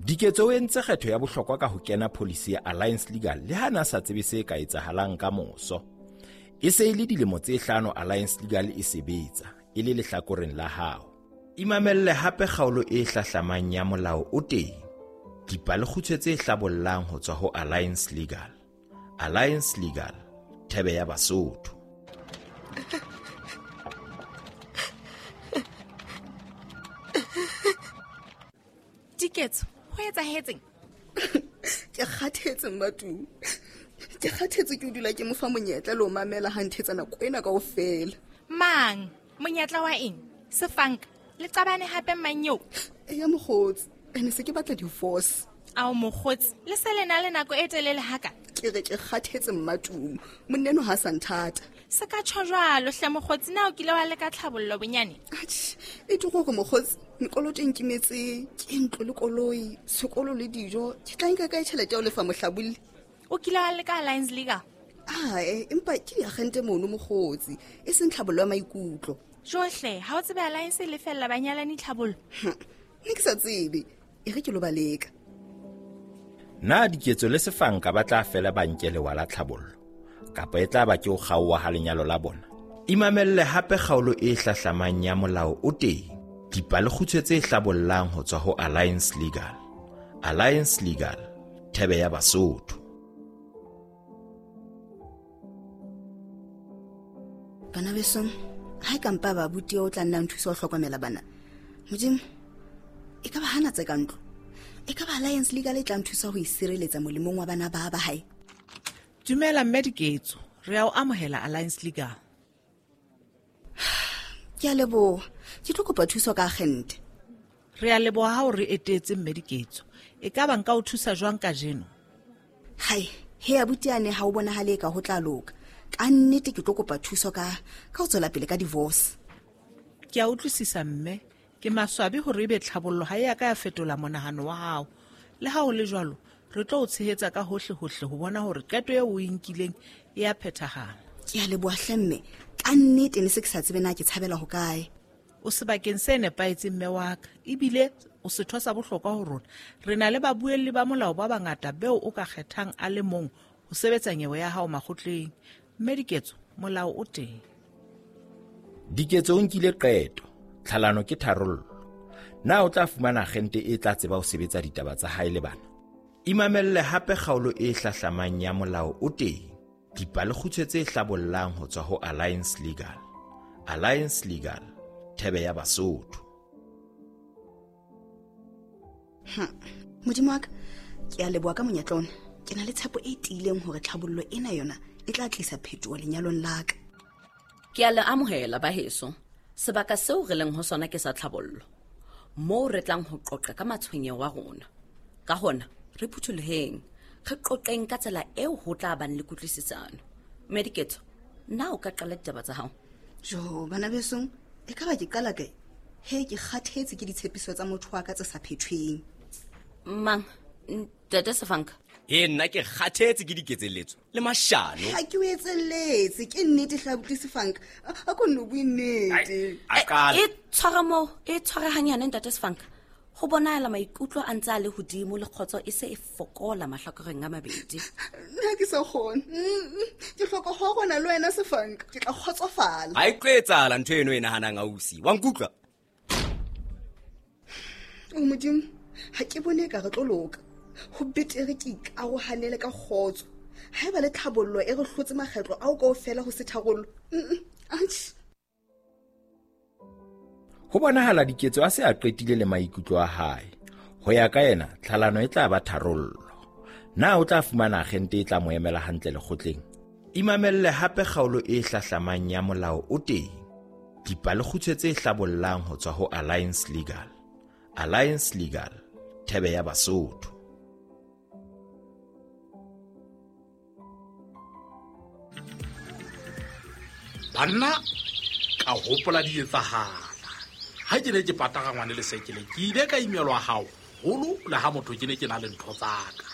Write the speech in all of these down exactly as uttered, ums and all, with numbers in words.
Diketso o entse kgetho ya bohlokwa ka ho kena pholisi ya Alliance Legal le ha na sa tsebe se ka etsahalang ka moso. E se e le dilemo tse hlano Alliance Legal e sebetsa e le lehlakoreng la hao. Imamelle hape kgaolo e hlahlamang ya Molao o Teng. Dipalekgutshwe tse hlabollang ho tswa ho Alliance Legal. Alliance Legal, thebe ya Basotho. Diketso, ho etsahetseng? Ke kgathetse Mmatu. Ke kgathetse ke o dula ke mo fa monyetla le ho mamela ha nthetsa nako ena kaofela. Mang? Monyetla wa eng? Sefanka, le qabane hape mang eo? Eya mokgotsi, ene se ke batla divorce. Ao mokgotsi, le se le na le nako e telele haka? Ke re ke kgathetse Mmatumo, monneno ha sa nthata. Se ka tjho jwalo hle mokgotsi, na o kile wa leka tlhabollo bonyane? Atjhe, e tlo hore mokgotsi, mekoloto e nkimetse, ke ntlo le koloi, sekolo le dijo, ke tla nka kae tjhelete ya ho lefa mohlabolli? O kile wa leka Alliance Legal? Ae, empa ke diagente mono mokgotsi, e seng tlhabollo ya maikutlo. Johle, ha o tsebe Alliance e lefella banyalani tlhabollo? Nne ke sa tsebe, e re ke lo ba leka. Na Diketso le Sefanka ba tla fela ba nke lewa la tlhabollo? Kapa e tla ba ke ho kgaoha ha lenyalo la bona? Imamelle hape kgaolo e hlahlamang ya Molao o Teng. Dipalekgutshwe tse hlabollang ho tswa ho Alliance Legal. Alliance Legal, thebe ya Basotho. Bana besong, ha e ka mpa ba abuti o tla nna nthusa ho hlokomela bana. Modimo, e ka ba hana tse ka ntlo. E ka ba Alliance Legal e tla nthusa ho isireletsa molemong wa bana ba ba hae. Dumela mme Diketso, re a o amohela Alliance Legal. Ke a leboha. Ke tlo kopa thuso ka agente. Re a leboha ha o re etetse mme Diketso. E ka ba nka o thusa jwang kajeno? Hai, he abuti ane ha o bonahale ka ho tla loka. Ka nnete ke tlo kopa thuso ka ka ho tswela pele ka divorce. Ke a utlwisisa mme, ke maswabi hore ebe tlhabollo ha e a ka ya fetola monahano wa hao. Le ha ho le jwalo, re tlo o tshehetsa ka hohle hohle ho bona hore qeto eo o e nkileng e a phethahala. Ke a leboha hle mme, ka nnete ne se ke sa tsebe na ke tshabela hokae. O sebakeng se nepahetseng mme wa ka, ebile o setho sa bohlokwa ho rona. Re na le babuelli ba molao ba bangata beo o ka kgethang a le mong ho sebetsa nyewe ya hao makgotleng. Mme Diketso, molao o teng. Diketso o nkile qeto, tlhalano ke tharollo. Na o tla fumana agente e tla tseba ho sebetsa ditaba tsa hae le bana? Imamelle hape kgaolo e hlahlamang ya Molao o Teng. Dipalekgutshwe tse hlabollang ho tswa ho Alliance Legal. Alliance Legal, thebe ya Basotho. Hm, Modimo wa ka, ke a leboha ka monyetla ona. Ke na le tshepo e tiileng hore tlhabollo ena yona e tla tlisa phetoho lenyalong la ka. Ke a le amohela ba heso. Sebaka seo re leng ho sona ke sa tlhabollo, moo re tlang ho qoqa ka matshwenyeho a rona. Ka hona, re phuthuloheng, re qoqeng ka tsela eo ho tla bang le kutlwisisano. Mme Diketso, na o ka qala ditaba tsa hao? Jo, bana besong, e ka ba ke qala kae? He, ke kgathetse ke ditshepiso tsa motho wa ka tse sa phethweng. Mang? Ntate Sefanka? E nna ke kgathetse ke diketselletso le mashano. Ha ke o etselletse, ke nnete hle abuti Sefanka. A ko nno bue nnete. A qala. E tshwara moo, e tshware hanyane ntate Sefanka. Ho bonahala maikutlo a ntse a le hodimo le kgotso e se e fokola mahlakoreng a mabedi. Nna ke sa kgone. Ke hloka ho rona le wena Sefanka, ke tla kgotsofala. Ha e tlo etsahala ntho eno e nahanang ausi. Wa nkutlwa? O Modimo, ha ke bone ka re tlo loka. Ho betere ke ikarohanele ka kgotso. Haeba le tlhabollo e re hlotse makgetlo ao kaofela ho se tharollo. Atjhe. Ho bonahala Diketso a se a qetile le maikutlo a hae. Ho ya ka yena, tlhalano e tla ba tharollo. Na o tla fumana agente e tla mo emela hantle lekgotleng? Imamelle hape kgaolo e hlahlamang ya Molao o Teng. Dipalekgutshwe tse hlabollang ho tswa ho Alliance Legal. Alliance Legal, thebe ya Basotho. Banna, ka hopola di etsahala. Ha ke ne ke pataka ngwane le sekele, ke ile ka imelwa haholo le ha motho ke ne ke na le ntho tsa ka.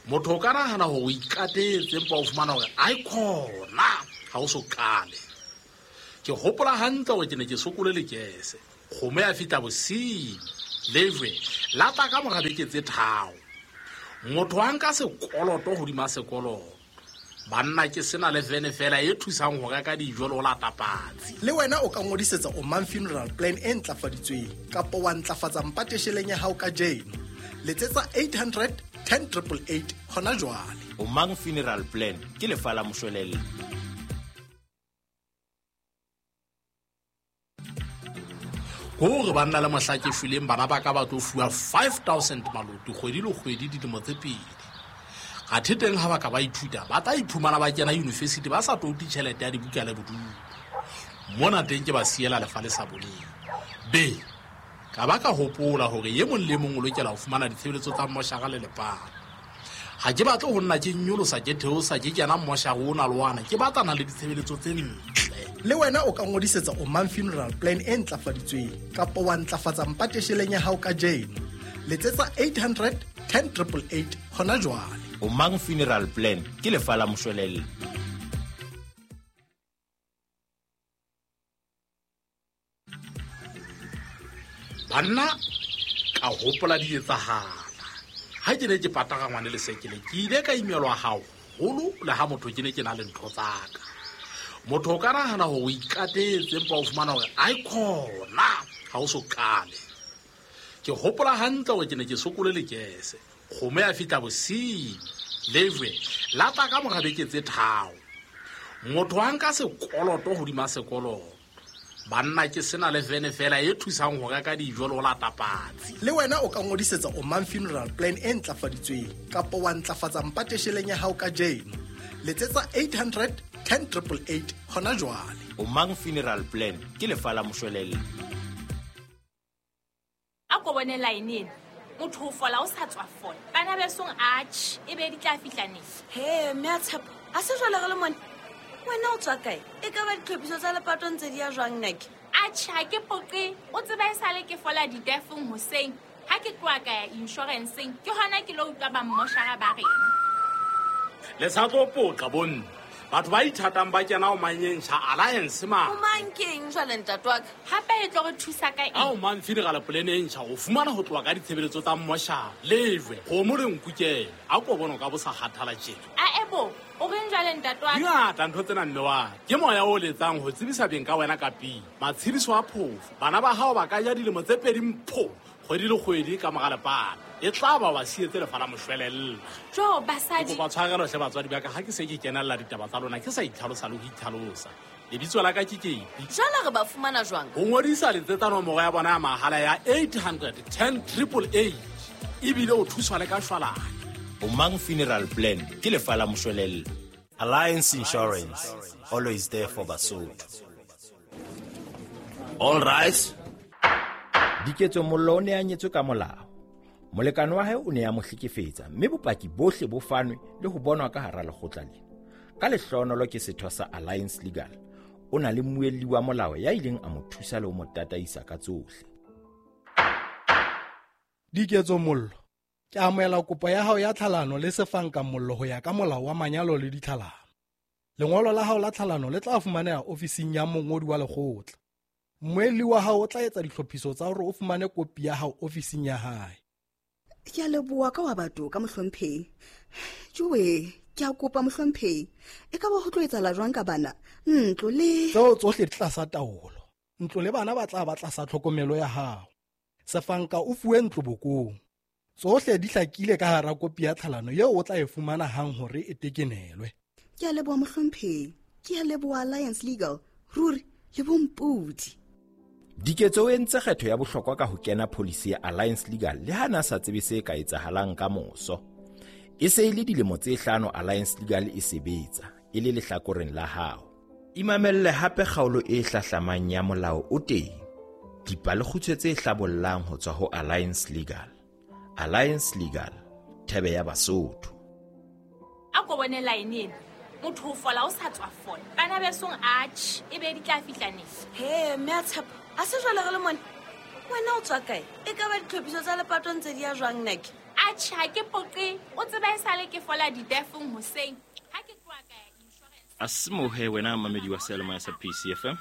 Motho o ka nahana hore o ikatetse empa o fumana hore ai khona ha o so qale. Ke hopola hantle hore ke ne ke sokole lekese. Kgomo ya fihla bosiu. Lejwe la tla ka mora beke tse tharo. Motho a nka sekoloto hodima sekoloto. Banna ke sena le vene fela e thusang ho reka dijo le ho lata patsi. Le wena o ka ngodisetsa Omang Funeral Plan e ntlafaditsweng kapa wa ntlafatsa mpatesheleng ya hao kajeno. Letsetsa eight hundred ten triple eight hona jwale. Omang Funeral Plan ke lefa la moshwelella. Hore banna le mohla ke shweleng bana ba ka ba tlo fuwa five thousand maloto kgwedi le kgwedi dilemo tse pedi. Athe teng ha ba ka ba ithuta ba tla iphumana ba kena university ba sa touti tjhelete ya dibuka le bodulo. Mona teng ke ba siela lefa le sa boleng. Be ka ba ka hopola hore e mong le mong o lokela ho fumana ditshebeletso tsa mmoshara le lepato. Ha ke batle ho nna ke nyolosa ke theosa ke kena mmoshara ona le ona, ke batlana le ditshebeletso tse ntle. Le wena o ka ngodisetsa Omang Funeral Plan e ntlafaditsweng kapa wa ntlafatsa mpatesheleng ya hao kajeno. Letsetsa eight hundred ten triple eight hona jwale. Omang Funeral Plan ke lefa la moshwelella. Banna ka hopola di etsahala. Ha ke ne ke patara ngwane le sekele ke ile ka imelwa haholo le ha motho ke ne ke na le ntho tsa ka. Motho o ka nahana hore o ikatetse empa o fumana hore ai khona ha o so qale. Ke hopola hantle hore ke ne ke sokole lekese. Kgomo ya fihla bosiu. Lejwe la tla ka mora beke tse tharo. Motho a nka sekoloto hodima sekoloto. Banna ke sena le vene fela e thusang ho reka dijo le ho lata patsi. Le wena o ka ngodisetsa Omang Funeral Plan e ntlafaditsweng kapa wa ntlafatsa mpatesheleng ya hao kajeno. Letsetsa eight hundred ten triple eight hona jwale. Omang Funeral Plan ke lefa la moshwelella. A ko bone line ena. Motho o fola o sa tswa fola. Bana besong atjhe e be di tla fihla neng? He mme a Tshepo, a se jwale re le mone. Wena o tswa kae? E ka ba ditlhophiso tsa lepato ntse di ya jwang nake? Atjhe ha ke poqe, o tseba e sale ke fola ditefong hoseng. Ha ke tloha ka ya insurance-eng, ke hona ke lo utlwa ba mmoshara ba reng. Le sa tlo poqa bonne. Batho ba ithatang ba kena o manyentjha Alliance ma. O mang keng jwale ntate wa ka? Hape e tlo re thusa ka eng? A o mang funeral plan e ntjha o fumana ho tloha ka ditshebeletso tsa mmoshara. Lejwe, kgomo le nkukele. A ko bona ka bo sa kgathala tjena. A ebo, o reng jwale ntate wa ka? Dingata ntho tsena mme wa. Ke moya o letsang ho tsebisa beng ka wena ka pele. Matshediso a phofo. Bana ba hao ba ka ja dilemo tse pedi mpho. Kgwedi le kgwedi ka mora lepato. E tla ba ba sietse lefa la moshwelella. Jo basadi. Kopa tshwarelo hle batswadi ba ka ha ke se ke kenella ditaba tsa lona ke sa itlhalosa le ho itlhalosa. Lebitso la ka ke Kepi. Jwale re ba fumana jwang? Ho ngodisa letsetsa nomoro ya bona ya mahala ya eight hundred ten triple eight. Ebile o thuswa le ka shwalane. Omang Funeral Plan ke lefa la moshwelella. Alliance Insurance, always there for Basotho. All rise. Diketso Mollo o ne a nyetswe ka molao. Molekane wa hae o ne a mo hlekefetsa mme bopaki bohle bo fanwe le ho bonwa ka hara lekgotla lena. Ka lehlohonolo ke setho sa Alliance Legal. O na le mmuelli wa molao ya ileng a mo thusa le ho mo tataisa ka tsohle. Diketso Mollo, ke amohela kopo ya hao ya tlhalano le Sefanka Mollo ho ya ka molao wa manyalo le ditlhalano. Lengolo la hao la tlhalano le tla fumaneha ofising ya mongodi wa lekgotla. Mmuelli wa hao o tla etsa ditlhophiso tsa hore o fumane kopi ya hao ofising ya hae. Ke a leboha ka wa batho ka mohlomphehi. Jowe, ke a kopa mohlomphehi. E ka ba ho tlo etsahala jwang ka bana? Ntlo le tseo tsohle di tlasa taolo. Ntlo le bana ba tla ba tlasa tlhokomelo ya hao. Sefanka o fuwe ntlo bokong. Tsohle di hlakile ka hara kopi ya tlhalano eo o tla e fumana hang hore e tekenelwe. Ke a leboha mohlomphehi. Ke a leboha Alliance Legal. Ruri le bompodi. Diketso o entse kgetho ya bohlokwa ka ho kena pholisi ya Alliance Legal le ha na sa tsebe se ka etsahalang ka moso. E se e le dilemo tse hlano Alliance Legal e sebetsa e le lehlakoreng la hao. Imamelle hape kgaolo e hlahlamang ya molao o teng. Dipalekgutshwe tse hlabollang ho tswa ho Alliance Legal. Alliance Legal, thebe ya Basotho. A ko bone line ena. Motho o fola o sa tswa fola. Bana besong atjhe e be di tla fihla neng? He mme a Tshepo, a se jwale re le mone. Wena o tswa kae? E ka ba ditlhophiso tsa lepato ntse di ya jwang nake? Atjhe ha ke poqe, o tseba e sale ke fola ditefong hoseng. Ha ke tloha ka ya insurance. A simohe wena mamedi wa seyalemoya sa P C F M.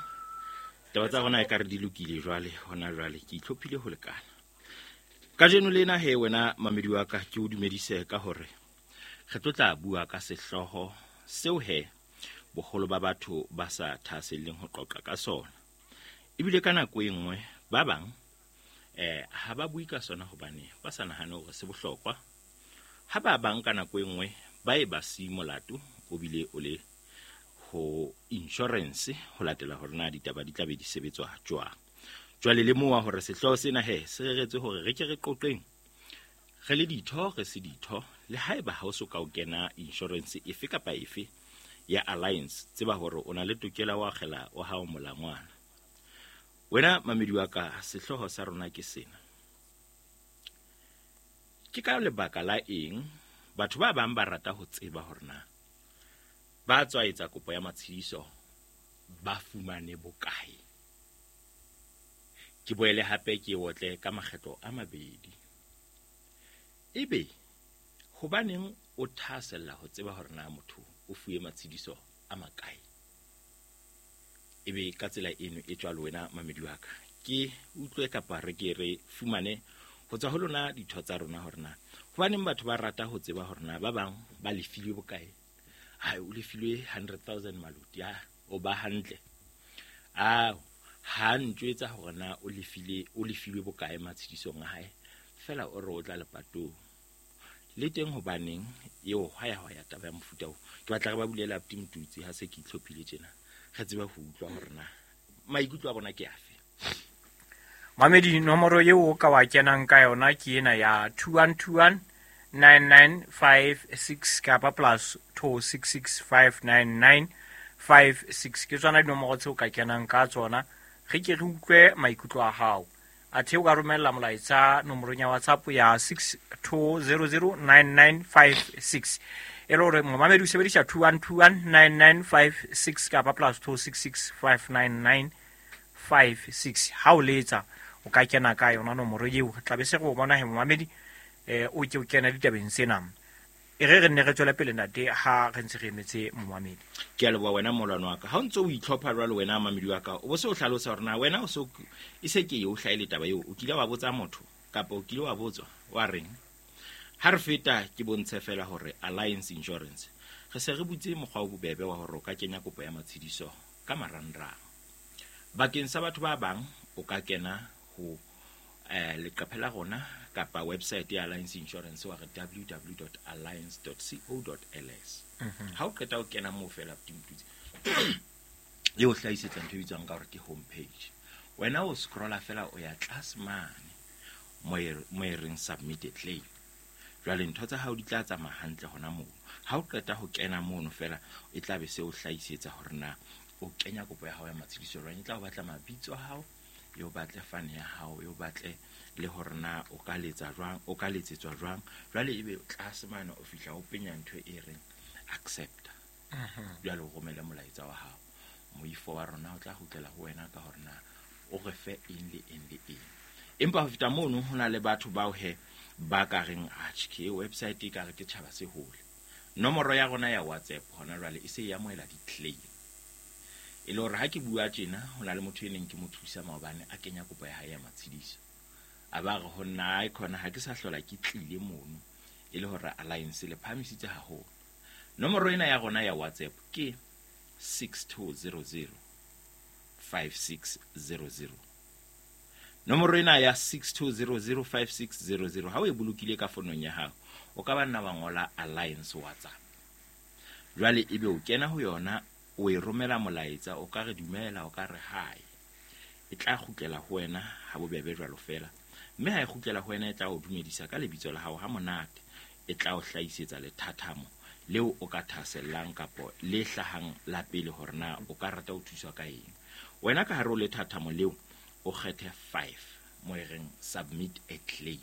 Taba tsa rona e ka re di lokile jwale, hona jwale ke itlhophile ho lekana. Kajeno lena he wena mamedi wa ka ke o dumedise ka hore re tlo tla bua ka sehlooho seo he boholo ba batho ba sa thahaselleng ho qoqa ka sona. Ebile ka nako e nngwe ba bang eh ha ba bue ka sona hobane ba sa nahane hore se bohlokwa. Ha ba bang ka nako e nngwe ba e ba si molato o bile o le ho insurance ho latela hore na ditaba di tla be di sebetswa jwang. Jwale le mowa hore sehlooho sena he se reretswe hore re ke re qoqeng re le ditho re se ditho le haeba ha o so ka o kena insurance efe kapa efe ya Alliance, tseba hore o na le tokelo wa akgela wa hao molangwana. Wena mamedi wa ka, sehlooho sa rona ke sena. Ke ka lebaka la eng batho ba bang ba rata ho tseba hore na ba tswa etsa kopo ya matshediso ba fumane bokae? Ke boele hape ke otle ka makgetlo a mabedi. Ebe hobaneng o thahasella ho tseba hore na motho o fuwe matshediso a makae? Ebe ka tsela eno e jwalo wena mamedi wa ka, ke utlwe kapa re ke re fumane ho tswa ho lona ditho tsa rona hore na hobaneng batho ba rata ho tseba hore na ba bang ba lefilwe bokae. Hai, o lefilwe hundred thousand maluti, ah, o ba hantle. Ah, ha ntjwetsa hore na o lefile o lefilwe bokae matshedisong a hae, fela o re o tla lepatong. Le teng hobaneng eo hwaya hwaya taba ya mofuta oo. Ke batla re ba bulela abuti Motutsi ha se ke itlhophile tjena. Re tsebe ho utlwa hore na maikutlo a bona ke afe. Mamedi, nomoro eo o ka wa kenang ka yona ke ena ya two one two one nine nine five six kapa plus two six six five nine nine five six. Ke tsona dinomoro tseo ka kenang ka tsona. Re ke re utlwe maikutlo a hao. Athe o ka romella molaetsa nomorong ya WhatsApp ya six two zero zero nine nine five six. E le hore momamedi o sebedisa two one two one nine nine five six kapa plus two six six five nine nine five six. Ha o letsa o ka kena ka yona nomoro eo. Re tla be se re o bona he momamedi eh o ke o kena ditabeng tsena. E re re nne re tswele pele ntate ha re ntse re emetse momamedi. Ke a leboha wena molwana wa ka. Ha o ntso o itlhopha jwalo wena mamedi wa ka, o bo se o hlalosa hore na wena o so e se ke e o hlaele taba eo, o kile wa botsa motho kapa o kile wa botswa wa reng? Ha re feta ke bontshe fela hore Alliance Insurance re se re butse mokgwa o bobebe wa hore o ka kenya kopo ya matshediso ka marangrang. Bakeng sa batho ba bang o ka kena ho eh leqephe la rona kapa website ya Alliance Insurance wa re w w w dot alliance dot co dot l s. Ha o qeta o kena moo fela Motutsi e o hlahisetsa ntho e bitswang ka hore ke home page. Wena o scrolla fela o ya tlase mane mo e reng submit a claim. Jwale ntho tsa hao di tla tsamaya hantle hona moo. Ha o qeta ho kena mono fela e tla be se o hlahisetsa hore na o kenya kopo ya hao ya matshediso jwang. E tla o batla mabitso a hao, e o batle fane ya hao, e o batle le hore na o ka letsa jwang, o ka letsetswa jwang. Jwale ebe tlase mane o fihla o penya ntho e reng accept. Jwale o romele molaetsa wa hao. Moifo wa rona o tla kgutlela ho wena ka hore na o re fe eng le eng le eng. Empa ho feta mono ho na le batho bao he ba ka reng atjhe ke website e ka re ke tjhaba se hole. Nomoro ya rona ya WhatsApp hona jwale e se e amohela di-claim. E le hore ha ke bua tjena ho na le motho e neng ke mo thusa maobane a kenya kopo ya hae ya matshediso. A ba re ho nna ai khona ha ke sa hlola ke tlile mono e le hore Alliance le phahamisitse haholo. Nomoro ena ya rona ya WhatsApp ke six two zero zero five six zero zero. Nomoro ena ya six two zero zero five six zero zero ha o e bolokile ka fonong ya hao o ka ba nna wa ngola Alliance WhatsApp. Jwale ebe o kena ho yona o e romela molaetsa, o ka re dumela, o ka re hi. E tla kgutlela ho wena ha bobebe jwalo fela. Mme ha e kgutlela ho wena e tla o dumedisa ka lebitso la hao ha monate. E tla o hlahisetsa lethathamo leo o ka thahasellang kapo le hlahang la pele hore na o ka rata ho thuswa ka eng. Wena ka hare ho lethathamo leo o kgethe five mo e reng submit a claim.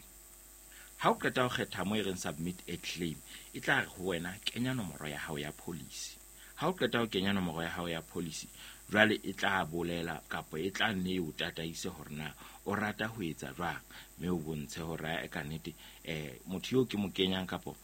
Ha o qeta ho kgetha mo e reng submit a claim, e tla re ho wena kenya nomoro ya hao ya policy. Ha o qeta ho kenya nomoro ya hao ya policy, jwale e tla bolela kapa e tla nne o tataise hore na o rata ho etsa jwang, mme o bontshe hore e ka nnete eh motho eo ke mo kenyang kapa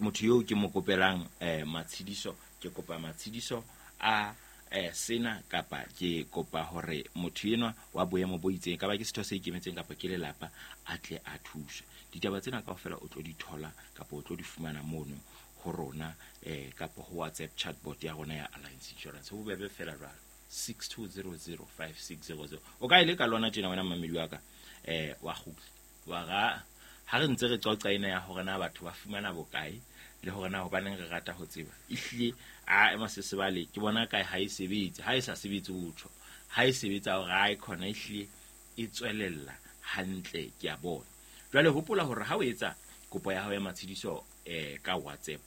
motho eo ke mo kopelang eh matshediso, ke kopa matshediso a eh sena kapa ke kopa hore motho enwa wa boemo bo itseng ka ba ke setho se ikemetseng kapa ke lelapa a tle a thuswe. Ditaba tsena kaofela o tlo di thola kapa o tlo di fumana mono ho rona eh kapa ho WhatsApp chatbot ya rona ya Alliance Insurance. Ho bobebe fela jwalo six two zero zero five six zero zero. O ka ile ka lona tjena wena mamedi wa ka eh wa kgutla wa ga ha re ntse re qoqa ena ya hore na batho ba fumana bokae le hore na hobaneng re rata ho tseba. Ehlile a ema se sebale ke bona kae ha e sebetse, ha e sa sebetse o tjho, ha e sebetsa hore ha e khona ehlile e tswelella hantle ke a bona. Jwale hopola hore ha o etsa kopo ya hao ya matshidiso eh ka WhatsApp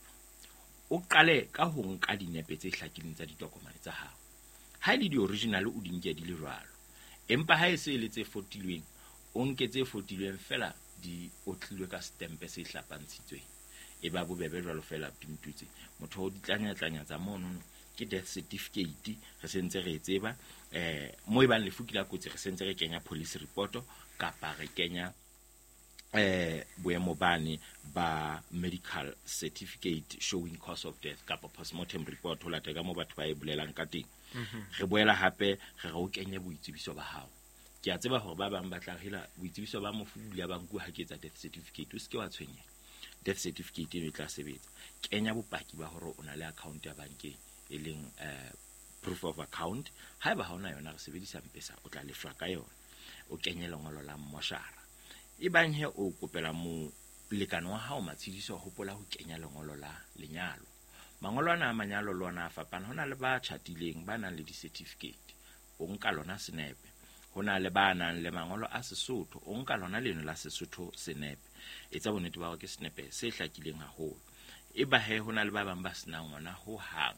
o qale ka ho nka dinepe tse hlakileng tsa ditokomane tsa hao. Ha e le di-original o di nke di le jwalo, empa ha e se e le tse fotilweng o nke tse fotilweng fela di otlilwe ka stempe se hlapantshitsweng. E ba bobebe jwalo fela tumtutse motho o ditlanya-tlanya tsa mono ke death certificate re sentse re e tseba eh mo e bang lefu ke la kotsi re sentse re kenya police report kapa re kenya eh boemo bane ba medical certificate showing cause of death kapa postmortem report ho latela ka mo batho ba e bolelang ka teng. Re boela hape re re o kenye boitsebiso ba hao. Ke a tseba hore ba bang ba tla hela boitsebiso ba mofu bula ba nkuwa ha ke etsa death certificate. O se ke wa tshwenyeha, death certificate eno e tla sebetsa. Kenya bopaki ba hore o na le account ya bankeng e leng eh proof of account. Haeba ha ona yona re sebedisa M-Pesa o tla lefshwa ka yona. O kenye lengolo la mmoshara. E bang he o kopela molekane wa hao matshidiso, hopola ho kenya lengolo la lenyalo. Mangolo ana a manyalo le ona a fapana. Ho na le ba tjhatileng ba nang le di-certificate, o nka lona senepe. Ho na le ba nang le mangolo a Sesotho, o nka lona leno la Sesotho senepe. Etsa bonnete ba hore ke senepe se hlakileng haholo. E ba he ho na le ba bang ba senang ona ho hang.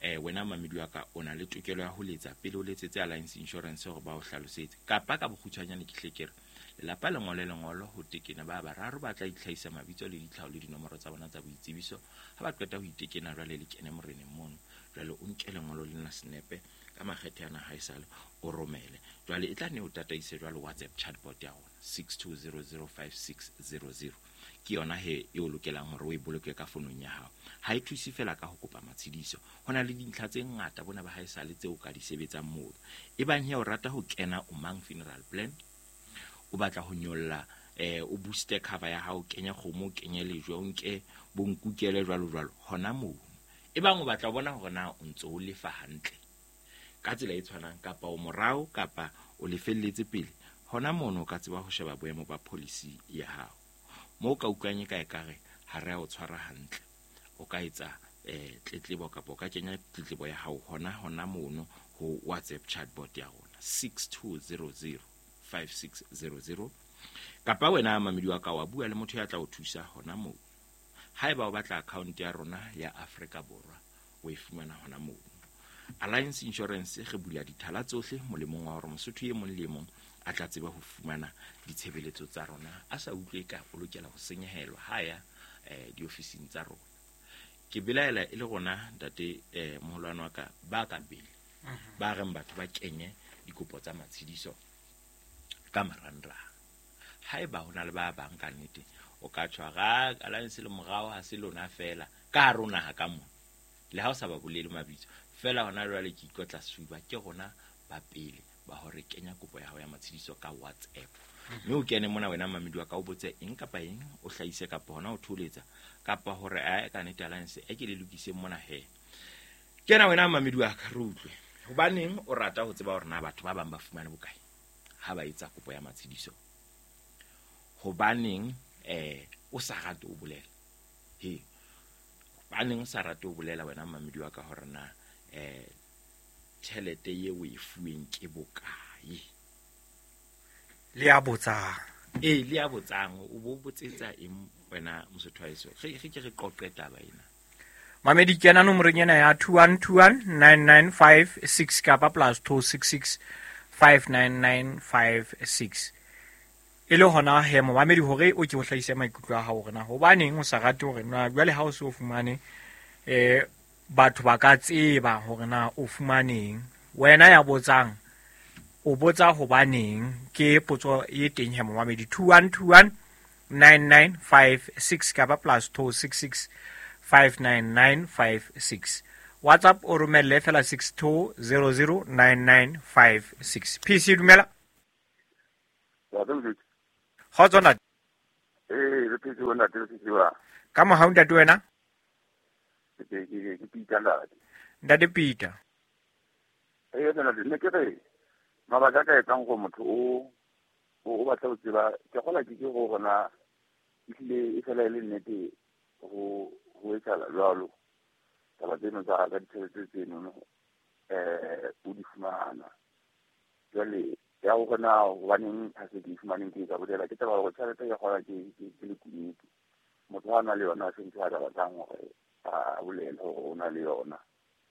Eh wena mamedi wa ka o na le tokelo ya ho letsa pele o letsetse Alliance Insurance hore ba o hlalosetse. Kapa ka bokgutshwanyane ke hle ke re lelapa le ngole lengolo ho tekena ba bararo ba tla itlhahisa mabitso le ditlhaho le dinomoro tsa bona tsa boitsebiso. Ha ba qeta ho itekena jwale le kene moreneng mono. Jwale o nke lengolo lena senepe ka makgethe ana haesale o romele. Jwale e tla ne o tataise jwale WhatsApp chatbot ya rona six two zero zero five six zero zero. Ke yona he e o lokelang hore o e boloke ka fonong ya hao. Ha e thuse fela ka ho kopa matshidiso. Ho na le dintlha tse ngata bona ba haesale tseo ka di sebetsang moo. E bang he o rata ho kena o mang funeral plan, o batla ho nyolla eh o booster cover ya hao, kenya kgomo, kenye lejwe, o nke bonkukele jwalo jwalo hona moo. E bang o batla ho bona hore na o ntso o lefa hantle ka tsela e tshwanang kapa o morao kapa o lefelletse pele, hona mono o ka tseba ho sheba boemo ba policy ya hao. Moo ka utlwang e ka ekare ha re a o tshwara hantle, o ka etsa eh tletlebo kapa o ka kenya tletlebo ya hao hona hona mono ho WhatsApp chatbot ya rona six two zero zero five six zero zero. Kapa wena mamedi wa ka wa bua le motho ya tla o thusa hona moo. Haeba o batla account ya rona ya Afrika Borwa o e fumana hona moo. Alliance Insurance re bula dithala tsohle molemong wa hore mosotho e mong le mong a tla tseba ho fumana ditshebeletso tsa rona a sa utlwe ka o lokela ho senyehelwa ha ya eh diofising tsa rona. Ke belaela e le rona ntate eh moholwane wa ka ba ka pele ba reng batho ba kenye dikopo tsa matshidiso ka marangrang. Haeba ho na le ba bang ka nnete o ka tshwara Alliance le morao ha se lona fela ka hare ho naha ka mona, le ha o sa ba bolele mabitso fela hona jwale ke ikotla sefuba ke rona ba pele ba hore kenya kopo ya hao ya matshidiso ka WhatsApp. Mme o kene mona wena mamedi wa ka o botse eng kapa eng, o hlahise kapa hona o tholetsa kapa hore a ka nnete Alliance e ke le lokise mona he. Kena wena mamedi wa ka re utlwe hobaneng o rata ho tseba hore na batho ba bang ba fumane bokae ha ba etsa kopo ya matshidiso. Hobaneng eh o sa rate o bolela he, hobaneng o sa rate o bolela wena mamedi wa ka hore na eh tjhelete ye o e fuweng ke bokae? Le ya botsang. Eh le ya botsang o bo botsetsa eng wena mosotho wa heso? Re re ke re qoqe taba ena. Mamedi kena nomorong ena ya two one two one nine nine five six kapa plus two six six five nine nine five six. E le hona he momamedi hore o ke o hlahise maikutlo a hao hore na hobaneng o sa rate hore na jwale ha o se o fumane eh batho ba ka tseba hore na o fumaneng. Wena ya botsang o botsa hobaneng, ke potso e teng he momamedi two one two one nine nine five six kapa plus two six six five nine nine five six. WhatsApp o romelle fela six two zero zero nine nine five six. P C dumela. Kgotso ntate. Eh, re phetse bona ntate, re phetse ba. Ka mohau ntate wena? Ke ke ke Peter ntate. Ntate Peter. Eh, ntate, ne ke re mabaka a ka etsang gore motho o o batla ho tseba ke gola ke ke go gona ehlile e fela e le nnete go go etsahala jwalo. Taba tseno tsa ka ditjhelete tseno eh o di fumana. Jwale ya go gona hobaneng ha se di fumaneng ke ka bolela ke taba gore tjhelete ya gola ke ke le kunutu. Motho ha na le yona se ntho a batlang hore a bolele hore o na le yona.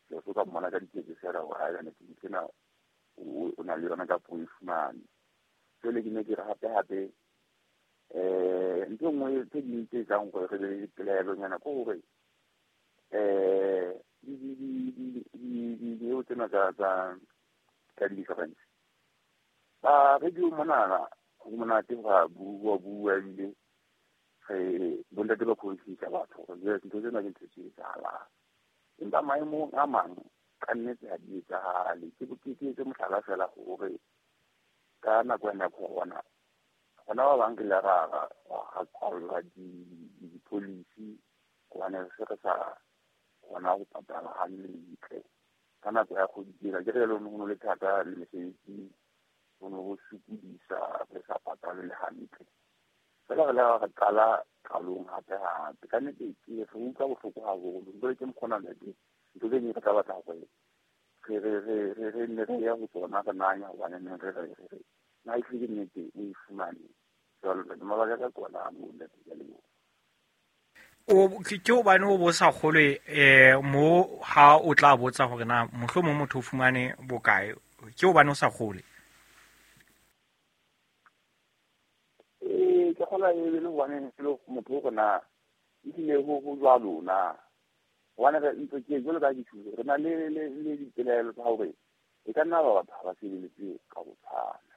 Ke so ka mmona ka diketso fela hore ha ene ke tsena o na le yona ka po e fumane. Jwale ke ne ke re hape hape eh ntho nngwe tse ding tse etsang gore re be le dipelaelonyana ke hore eh di di di di di di tsena tsa tsa tsa di-insurance. Ba radio monana ho monate ba bua bua ebile re bontate ba khontsisa batho gore ntho tsena ke ntho tse etsahalang. Empa maemong a mang ka nnete ha di etsahale. Ke ke etse mohlala fela hore ka nako ena ya corona gona ba bang ke le ra ra kwallwa di-policy hobane re se re sa kgona ho patala hantle. Ka nako ya kgwedi tsena ke re le ho no le thata le mesebetsi ho no ho sokodisa re sa patale le hantle. Fela re le re qala qalong hape hape. Ka nnete ke re utlwa bohloko haholo. Jwale ke mokgona ntate ntho tse ding re tla batla hore re re re re re nne re ya ho tsona re nanya hobane ne re re re na e hlile nnete o e fumane. Jwale mabaka ka kona a moo ntate, ke a leboha. O ke hobane o bo sa kgolwe eh mo ha o tla botsa hore na mohlomong motho o fumane bokae, ke hobane o sa kgolwe? Eh ke kgola e le hobane ke le motho o na ehlile ho ho jwalo na. Hobane re ntse ke jwalo ka dithuso re na le le le dipelaelo tsa hore e ka nna ba batho ha ba sebeletse ka ho tshwana.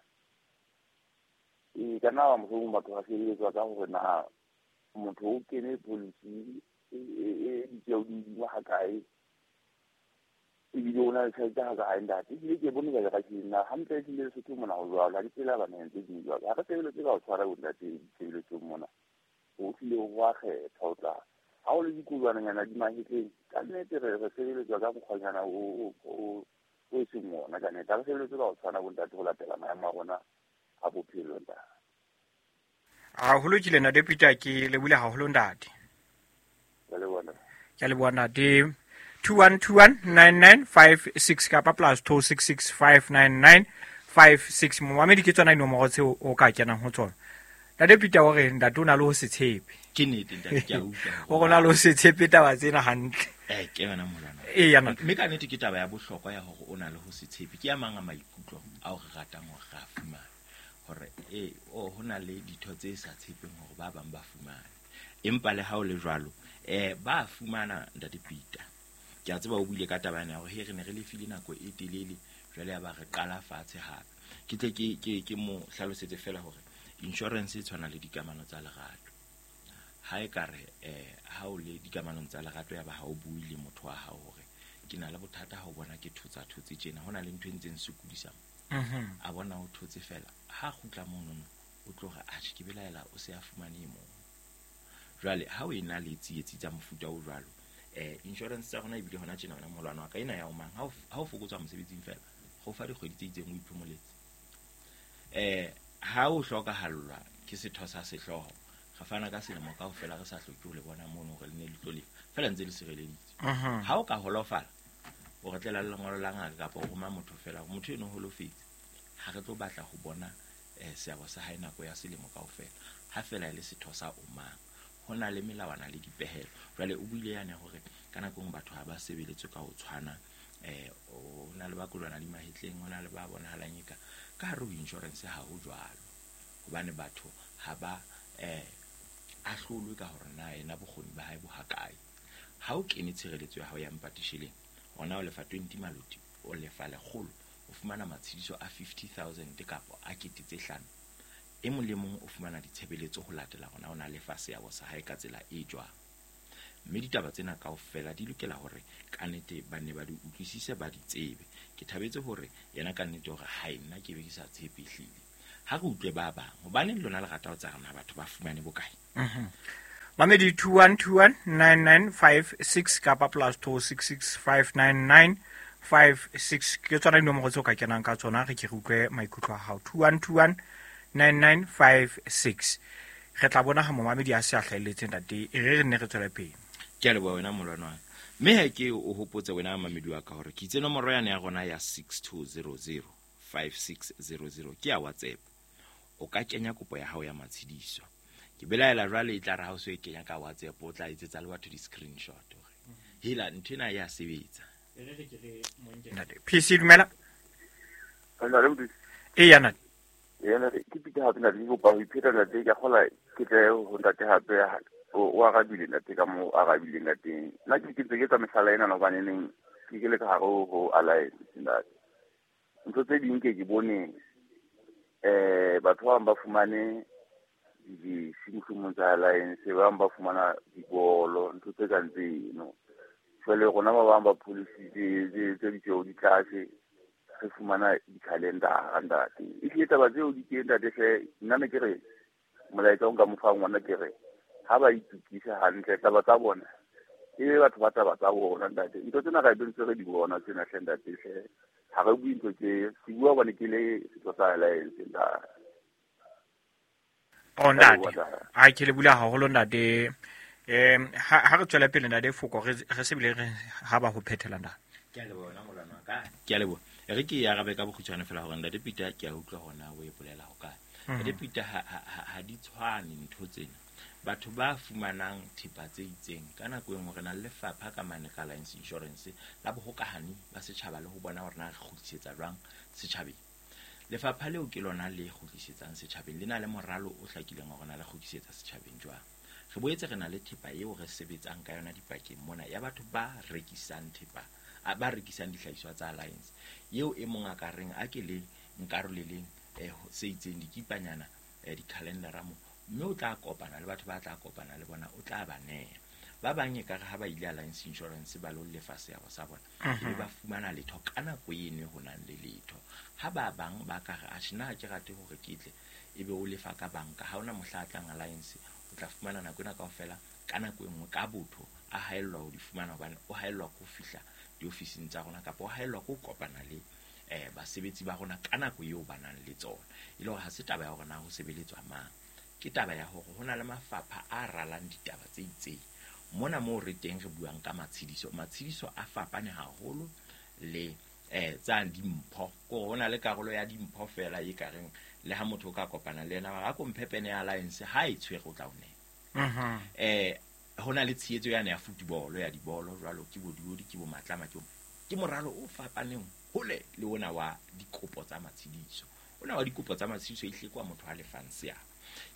E ka nna ba mohlomong batho ba sebeletswa ka hore na motho o kene policy e e ditjeo di hodimo hakae ebile o na le tjhelete hakae ntate. Ebile ke bone jwale ka tjena hantle ehlile Lesotho mona ho jwalo ha di tsela baneng tse ding jwalo. Ha re sebeletse ka ho tshwara bo ntate ditshebeletsong mona. Ho hlile ho a kgetha ho tla ha o le dikolwananyana di mahetleng ka nnete re re sebeletswa ka mokgwanyana o o o e seng ona ka nnete. Ha re sebeletse ka ho tshwana bo ntate ho latela maemo a rona a bophelo ntate. Haholo ke lena Peter, ke lebohile haholo ntate. Ke a leboha. Ke a leboha ntate. two one two one nine nine five six kapa plus two six six five nine nine five six. Momamedi ke tsona dinomoro tseo o ka kenang ho tsona. Ntate Peter o re ntate o na le ho se tshepe. Ke nnete ntate, ke a utlwa. O rona le ho se tshepe taba tsena hantle. Eh ke yona molwana. Eh ya ntate. Mme ka nnete ke taba ya bohlokwa ya hore o na le ho se tshepe. Ke ya mang a maikutlo ao re ratang hore re a fumane. Hore eh o ho na le ditho tse sa tshepeng hore ba bang ba fumane. Empa le ha o le jwalo eh ba fumana ntate Peter. Ke a tseba o buile ka taba ena hore he re ne re lefile nako e telele jwale ya ba re qala fatshe hape. Ke tle ke ke ke mo hlalosetse fela hore insurance e tshwana le dikamano tsa lerato. Ha e ka re eh ha o le dikamanong tsa lerato ya ba ha o bue le motho wa hao hore ke na le bothata ha o bona ke thotsa thotse tjena hona le ntho e ntseng sokodisa. Mhm. A bona o thotse fela ha kgutla monono o tloga a tjhe ke belaela o se a fumane e mong. Jwale ha o ena le tsietsi tsa mofuta o jwalo eh insurance tsa rona ebile hona tjena wena molwana wa ka ena ya o mang ha o ha o fokotswa mosebetsing fela go fa dikgwedi tse itseng o iphomoletse. Eh ha o hlokahallwa ke setho sa sehlooho re fana ka selemo kaofela re sa hloke ho le bona mono hore le ne le tlo lefa fela ntse le sireleditse. Ha o ka holofala o re tlela le lengolo la ngaka kapa o roma motho fela motho eno holofetse ha re tlo batla ho bona eh seabo sa hae nako ya selemo kaofela ha fela e le setho sa o mang. Ho na le melawana le dipehelo. Jwale o buile yane hore ka nako nngwe batho ha ba sebeletswe ka ho tshwana eh o na le ba kolwana di mahetleng ho na le ba bonahalang eka ka hare ho insurance ha ho jwalo hobane batho ha ba eh ahlolwe ka hore na yena bokgoni ba hae bo hakae. Ha o kene tshireletso ya hao ya mpatisheleng ona o lefa twenty maloti o lefa lekgolo o fumana matshediso a fifty thousand kapa a kete tse hlano. E mong le mong o fumana ditshebeletso ho latela hona o na lefa seabo sa hae ka tsela e jwang. Mme ditaba tsena kaofela di lokela hore ka nnete ba nne ba di utlwisise, ba di tsebe. Ke thabetse hore yena ka nnete hore hae nna ke be ke sa tshepe ehlile. Ha re utlwe ba bang, hobaneng lona le rata ho tsa rona batho ba fumane bokae? Mhm. Mamedi two one two one nine nine five six kapa plus two six six five nine nine five six ke tsona dinomoro tseo ka kenang ka tsona, re ke re utlwe maikutlo a hao. two one two one nine nine five six. Re tla bona ha momamedi a se a hlahelletse ntate, e re re nne re tswele pele. Ke a leboha wena molwana wa ka. Mme ha ke o hopotse wena mamedi wa ka hore ke itse nomoro yane ya rona ya six two zero zero five six zero zero ke ya WhatsApp. O ka kenya kopo ya hao ya matshediso. Ke belaela jwale e tla re ha o so e kenya ka WhatsApp o tla etsetsa le batho di-screenshot hore hela ntho ena ya sebetsa. Ntate P C dumela. Ntate Modise. E ya ntate. Ee, ntate, ke Peter hape ntate, ke kopa ho ipheta ntate, ke a kgola ke tle ho ntate hape, o, o arabile ntate ka moo arabileng ka teng. Nna ke ke ntse ke etsa mehlala ena hobane neng ke ke le ka hare ho, ho Alliance ntate. Ntho tse ding ke ke bone, eh, batho ba bang ba fumane di-J C mohlomong tsa Alliance, ba bang ba fumana dibolo, ntho tse kang tseno. Jwale rona ba bang ba policy tse, tse, tse ditjeo di tlase, re fumana di-calendar ntate. Ehlile taba tseo di teng ntate hle, nna ne ke re molaetsa o nka mo fang ngwana ke re ha ba itukise hantle taba tsa bona, e be batho ba taba tsa bona ntate. Ntho tsena ra be ntse re di bona tsena hle ntate hle. Ha re bue ntho tse, ke bua hobane ke le setho sa Alliance ntate. Oh, ntate. A ke le bula haholo ntate. Em, ha, ha re tswela pele ntate Foko, re, re se bile re ha ba ho phethela ntate. Ke a leboha wena molwana wa ka. Ke a leboha. E re ke e arabe ka bokgutshwane fela hore ntate Peter ke a utlwa hore na o e bolela ho kae. Mhm. Ntate Peter ha, ha, ha, ha di tshwane ntho tsena. Batho ba fumanang thepa tse itseng ka nako e nngwe re na le lefapha ka mane ka Alliance Insurance la bohokahani ba setjhaba le ho bona hore na re kgutlisetsa jwang setjhabeng. Lefapha leo ke lona le kgutlisetsang setjhabeng, le na le moralo o hlakileng hore na le kgutlisetsa setjhabeng jwang. Re boetse re na le thepa eo re sebetsang ka yona dipakeng mona ya batho ba rekisang thepa, a, ba rekisang dihlahiswa tsa Alliance. Eo e mong a ka reng a ke le nkaroleleng, eh, se itseng dikipanyana, eh, di-calendar-a mo, mme o tla kopana le batho ba tla kopana le bona, o tla ba neha. Ba bang e kare ha ba ile Alliance Insurance ba lo lefa seabo sa bona, Mhm. ebe ba fumana letho ka nako eno ho nang le letho. Ha ba bang ba ka re, atjhe, nna ha ke rate hore ke tle, ebe o lefa ka banka, ha hona mohla a tlang Alliance, o tla fumana nako ena kaofela ka nako e nngwe ka botho a haellwa ho di fumana, hobane o haellwa ke ho fihla diofising tsa rona kapa o haellwa ke ho kopana le, eh, basebetsi ba rona ka nako eo ba nang le tsona. E le hore ha se taba ya hore na ho sebeletswa mang, ke taba ya hore ho na le mafapha a ralang ditaba tse itseng. Mona moo re teng re buang ka matshediso, matshediso a fapane haholo le, eh, tsa dimpho. Ke hore ho na le karolo ya dimpho fela e ka reng le ha motho o ka kopana le yena, a ko mphe pene ya Alliance, ha e tshwere o tla o neha. Mhm. Eh, ho na le tshehetso yane ya football, ya dibolo jwalo, ke bo diodi, ke bo matlama, ke bo, ke moralo o fapaneng hole le ona wa dikopo tsa matshediso. Ona wa dikopo tsa matshediso e hlekwa motho a lefang seabo.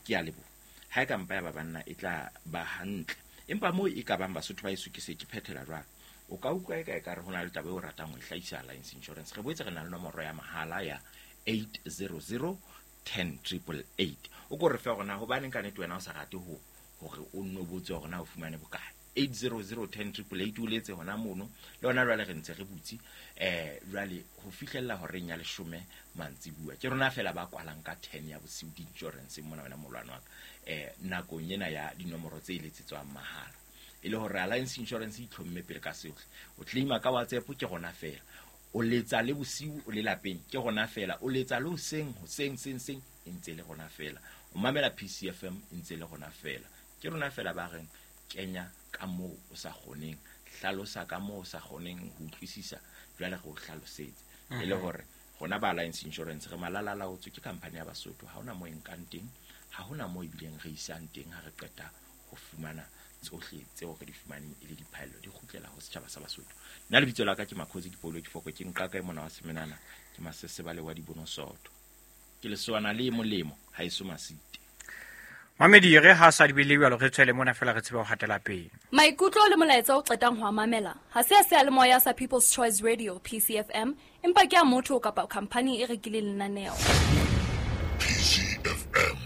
Ke a leboha. Ha e ka mpa ya ba banna e tla ba hantle. Empa moo e ka bang Basotho ba heso ke se ke phethela jwalo. O ka utlwa eka ekare ho na le taba eo o ratang ho e hlahisa Alliance Insurance. Re boetse re na le nomoro ya mahala ya eight zero zero ten triple eight. O ko re fe hore na hobaneng ka nnete wena o sa rate ho hore o nno botse hore na o fumane bokae. eight zero zero ten triple eight o letse hona mono. Le hona jwale re ntse re butse, eh, jwale ho fihlella horeng ya leshome mantsibuya. Ke rona fela ba kwalang ka ten ya bosiu di-insurance mona wena molwana wa ka. Eh, nakong ena ya dinomoro tse eletsetswang mahala. E le hore Alliance Insurance e itlhomme pele ka sohle. O claima ka WhatsApp ke rona fela. O letsa le bosiu o le lapeng ke rona fela. O letsa le hoseng, hoseng, seng, seng, e ntse le rona fela. O mamela P C F M e ntse le rona fela. Ke rona fela ba reng kenya ka moo o sa kgoneng, hlalosa ka moo o sa kgoneng ho utlwisisa, jwale re o hlalosetse. E le Mhm. hore rona ba Alliance Insurance re malalalaotswe ke company ya Basotho, ha hona moo e nkang teng, ha hona moo ebileng re isang teng ha re qeta ho fumana tsohle tseo re di fumaneng e le diphaello di kgutlela ho setjhaba sa Basotho. Nna lebitso la ka ke Makhosi ke Paulo ke Foko, ke nqaka e mona wa Semenana, ke Masesebale wa Dibonosoto. Ke lesoana le molemo ha eso masite. Mamedi re ha sa di bile jwalo re tswele mona fela re tsebe ho hatela pele. Maikutlo le molaetsa o qetang ho a mamela ha se a seyalemoya sa People's Choice Radio P C F M, empa ke a motho kapa khampani e rekileng lenaneo. P C F M,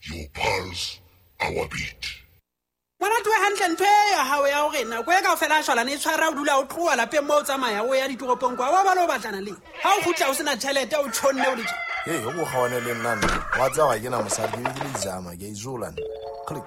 your pulse, our beat. Ngwana tloha Hantle ntho e ya hao ya hore nako e kaofela a shwalane e tshwara o dula o tloha lapeng moo o tsamaya o ya ditoropong kwa wa ba le o batlana le ha o kgutla o sena tjhelete o tjhonne o le tje. Hey, o kgawane le nna nna. Wa tseba ga ke na mosadi ke ke le izama ke izola nna. Click.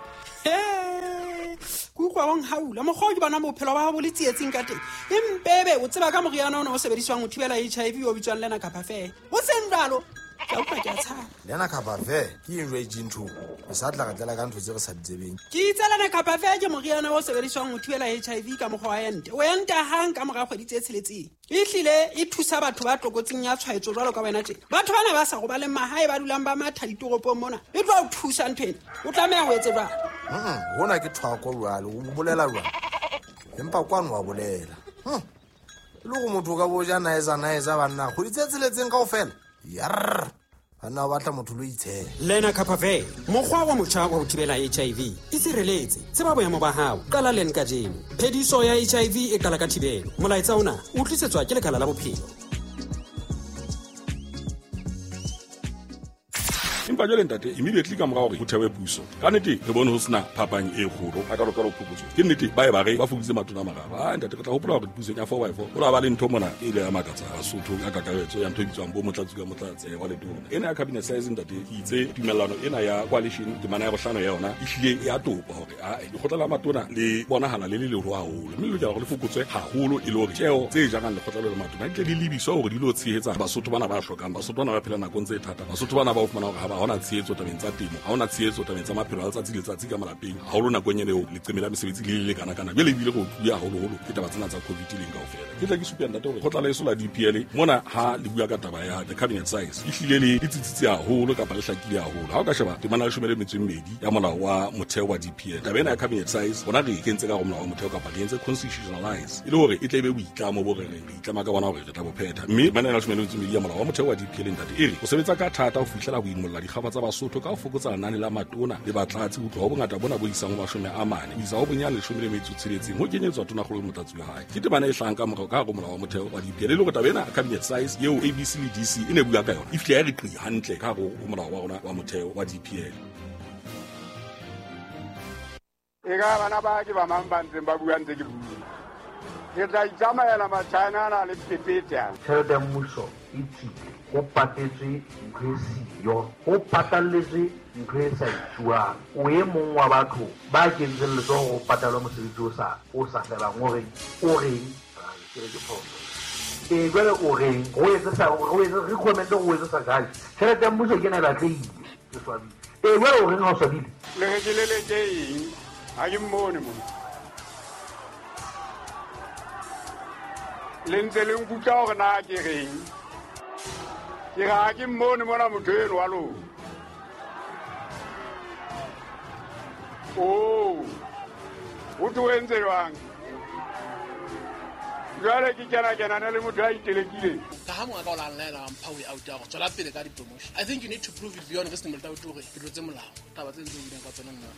Ke utlwa wa nhaula mokgwa o ke bona bophelo ba hao bo le tsietsing ka teng. Empebe o tseba ka moriana ona o sebediswang ho thibela H I V o bitswang Lenacapavir. O seng jwalo. Ke utlwa ke a tshaba. Lenacapavir ke eng jwale ntho? O sa tla re tlela ka ntho tse re sa di tsebeng. Ke itse Lenacapavir ke moriana o sebediswang ho thibela H I V ka mokgwa wa ente. O enta hang ka mora kgwedi tse tsheletseng. Ehlile e thusa batho ba tlokotsing ya tshwaetso jwalo ka wena tje. Batho bana ba sa robaleng mahae ba dulang ba matha ditoropong mona. E tlo o thusa ntho ena. O tlameha ho etse jwang? Mm, hona ke thwako jwale, o bolela jwang? Empa kwano wa bolela. Hm. Le go motho ka bo ja naeza naeza banna kgwedi tse tsheletseng kaofela. Yarr. Banna ba batla motho lo itshela. Lenacapavir, mokgwa wa motjha wa ho thibela H I V. E sireletse, tseba boemo ba hao. Qala len kajeno. Phediso ya H I V e qala ka thibelo. Molaetsa ona o tlisetswa ke Lekala la Bophelo. Empa jwale ntate immediately ka mora hore ho thewe puso ka nnete re bone ho sena phapang e kgolo a ka lokela ho phokotso ke nnete ba e ba re ba fokoditse matona a mararo. Ah ntate re tla hopola hore pusong ya four by four ho la ba le ntho mona e ile ya makatsa Basotho ka kakaretso ya ntho e bitswang bo motlatsi ka motlatsi wa letona ena ya cabinet size ntate ke itse tumellano ena ya coalition temana ya bohlano ya yona e hlile ya topa hore a lekgotla la matona le bonahala le le leholo haholo mme le lokela hore le fokotswe haholo e le hore tjeo tse jarang lekgotla le matona di tle di lebiswa hore di lo tshehetsa Basotho bana ba hlokang Basotho bana ba phela nakong tse thata Basotho bana ba o fumana hore ha ba hona tshehetso tabeng tsa temo ha hona tshehetso tabeng tsa maphelo a letsatsi le letsatsi ka malapeng haholo nakong ena eo leqeme la mesebetsi le le kana kana jwale ebile go tluya haholoholo ke taba tsena tsa COVID leng kaofela ke tla ke supa ntate hore kgotla la eso la D P L mona ha le bua ka taba ya the cabinet size e hlile le le tsitsitse haholo kapa le hlakile haholo ha o ka sheba temana ya leshome le metso e mmedi ya molao wa motheo wa D P L taba ena ya cabinet size bona re e kentse ka hare ho molao wa motheo kapa re entse constitutionalize e le hore e tle e be boitlamo bo re reng re itlama ka bona hore re tla bo phetha mme temana ya leshome le metso e mmedi ya molao wa motheo wa D P L ntate e re o sebetsa ka thata ho fihlela ho imolla dikgaba tsa Basotho ka ho fokotsa lenane la matona le batlatsi ho tloha ho bongata bona bo isang ho mashome a mane ho isa ho bonyane leshome le metso tsheletseng ho kenyetswa tonakgolo le motlatsi wa hae ke temana e hlahang ka morao ka hare ho molao wa motheo wa D P L e le hore taba ena cabinet size eo A B C le D C e ne bua ka yona e fihle ya re qi hantle ka hare ho molao wa rona wa motheo wa D P L. E ka bana ba ke ba mang ba ntseng ba bua ntse ke bua. Ke tla itsamaela Machina ana le phephetsa. Tjhelete ya mmuso e tswile, ho patetswe ntho e siyo, ho patalletswe ntho e sa etsuwang. O e mong wa batho ba kentseng letsoho ho patalwa mosebetsi o sa o sa felang o reng o reng ke re ke phoso. Ee jwale o reng o etse sa o etse recommend o etse sa kae? Tjhelete ya mmuso ke ena e batlehile, ke swabile. Ee jwale o reng ha o swabile? Le re ke leleke eng? Ha ke mmone mona. Le ntse le nkutlwa hore na ke reng? Ke re ha ke mmone mona motho eno wa lona. Oh, o tlo entse jwang? Jwale ke kena kenana le motho a itelekileng. Ka ha monga ka o la nlaela mpha way out ya go tswela pele ka di-promotion. I think you need to prove it beyond reasonable doubt hore ke tlotse molao. Taba tse ntse o buileng ka tsona nna.